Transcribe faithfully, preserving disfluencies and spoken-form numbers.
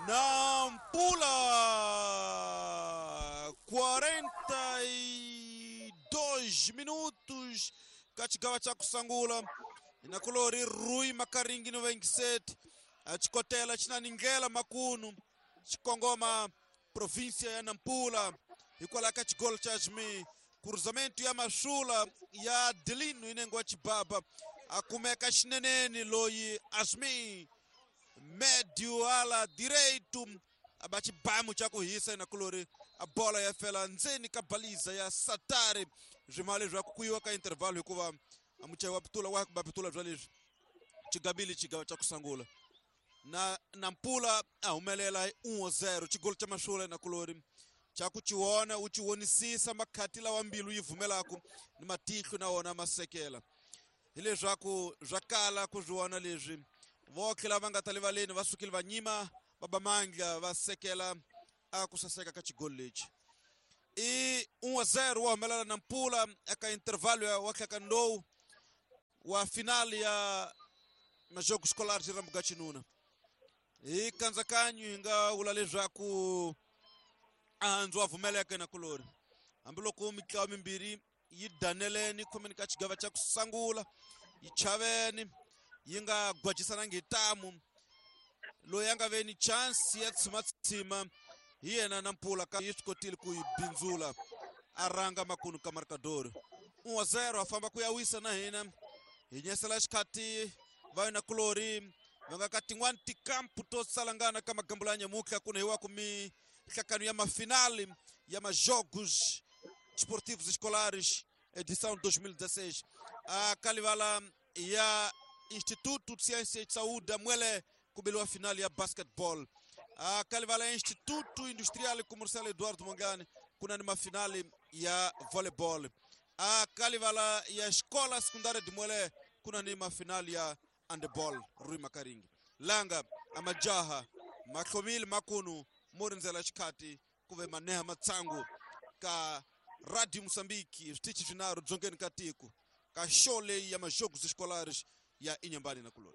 Nampula quarenta e dois minutos ka xigawa xa ku sungula inakulori Rui Makaringi no vinte e sete a xikotela xi na ni ndlela makunu xikongoma província ya Nampula hikwalaho ka xigolo xa Jimi cruzamento ya Mashula ya Adelino inengo wa Chibaba a kumeka xineneni loyi Asmi médio ala direito a ba xibamu xa ku hisa inakulori a bola ya fela ndzeni ka baliza ya Satari swima leswaku ku yiwa ka intervalo hikuva a muchayi wa pitula wa ba pitula bya leswi xigabili xigawa xa ku sungula na Nampula a humelela hi um a zero xigolo xa Mashula inakulori xa ku xiwona u xiwonisisa makhati lawa mbilu yi vumelaka ni matihlo na wona ma sekela hileswaku swa kala ku swi vona leswi votlhe lava nga ta livaleni va sukile va nyima va ba mandla va sekela a ku saseka ka xigolo lexi i um a zero wa humelela Nampula eka intervalo ya wa tlhekandou wa final ya majogo escolar de Rambugatinuna hi kandzakanyo hi nga vula leswaku a wa vumeleka na kulori hambiloko mitlawa mimbirhi yi daneleni khomeni ka xigava xa ku sungula yi chaveni yi nga gwajisanangi hi tamu loyi a nga ve ni chance ya tshimatsima hi yena Nampula ka yi swi kotile ku yi bindzula a ranga makunu ka markadori um a zero a famba ku ya wisa na hina hi nyesela xikhati va yona kulori va nga ka tin'wani tikampu to salangana ka magambulo ya nyamutlha ku hiwa ku mihlakano ya mafinali ya majogos desportivos escolares edição dois mil e dezesseis a kalivala ya Instituto de Ciência e Saúde da Muele kubeliwa final ya basketball a kalivala ya Instituto Industrial e Comercial Eduardo Mongane kuna ni mafinali ya volleyball a kalivala ya Escola Secundária de Muele kuna ni mafinali ya handball Rui Makaringi langa amajaha mahlomile makunu morindzela xikhati kuve maneha matsangu ka Radio Moçambique switichi swinharhu dzongeni ka tiko ka show leyi ya majogos escolares ya Inhambane na kulori.